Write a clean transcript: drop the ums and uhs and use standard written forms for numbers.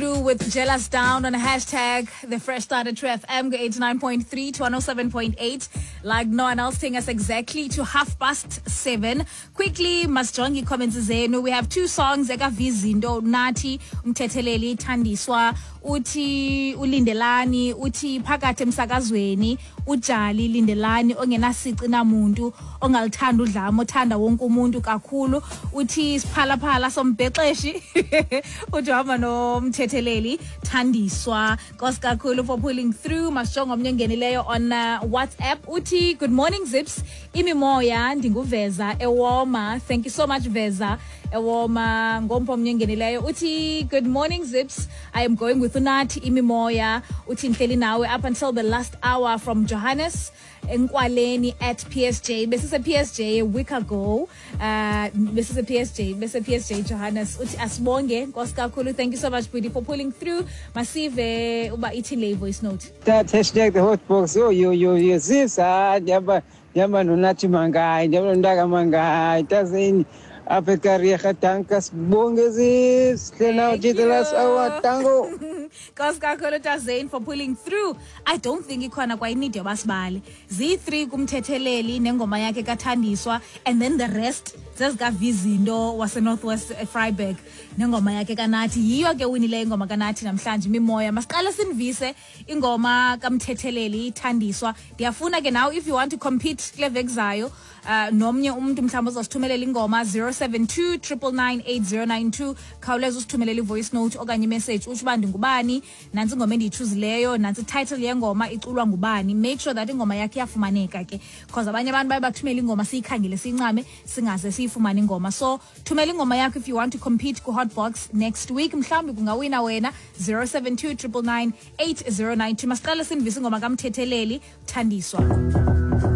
Through with Jealous Down on hashtag the Fresh Start at True FM 89.3 to 107.8. Like no one else, taking us exactly to 7:30. Quickly, masijonge ii-comments zenu. We have two songs ekavizinto Nathi Umthetheleli Thandiswa uthi uLindelani uthi phakathi emsakazweni uJali Lindelani ongenasici namuntu ongalithanda udlamo othanda wonke umuntu kakhulu uthi siphalaphala sombhexeshi uthi uhamba nomthetheleli Thandiswa. Nkosi kakhulu for pulling through. Masijonge omnye ongenileyo on WhatsApp uthi good morning Zips, imimoya ndinguveza ewoma. Thank you so much Veza ewoma. Ngompho omnye ongenileyo uthi good morning Zips, I am going with uNathi imimoya. Uthi ndihleli nawe up until the last hour from Johannes Enkwaleni at PSJ. Besise PSJ a week ago. Besise PSJ, bese PSJ Johannes uthi asibonge nkosi kakhulu. Thank you so much Budi for pulling through. Masive uba ithini le voice note. That hashtag the hot box. Yo yo yo yo sis ah ndihamba ndihamba noNathi Mangayi ndihamba noNtaka Mangayi tazini apha eKariega danka sibonge sis hle now Thank to the last you. hour tango. Nkosi kakhulu Tazane for pulling through. I don't think ikhona kwa i-need yoba sibale. Ziyi-3 kumthetheleli nengoma yakhe kaThandiswa and then the rest zezikavizinto waseNorthwest Freiburg nengoma yakhe kaNathi. Yiyo ke winileyo ingoma kaNathi namhlanje imimoya. Masiqale sinivise ingoma kamthetheleli Thandiswa. Ndiyafuna ke now if you want to compete kule veki zayo nomnye umuntu mhlawumbi ozasithumelela ingoma 072 999 8092 khawuleza usithumelele i-voice note okanye imessage utsho uba ndingubani, nantsi ingoma endiyichuzileyo, nantsi ititle yengoma iculwa ngubani. Make sure that ingoma yakhe iyafumaneka ke because abanye abantu baye bathumele ingoma siyikhangele siyincame singaze siyifumane ingoma. So thumela ingoma yakho if you want to compete ku-hotbox next week. Mhlawumbi kungawina wena 072 999 8092. Masiqale sinivise ingoma kamthetheleli Thandiswa.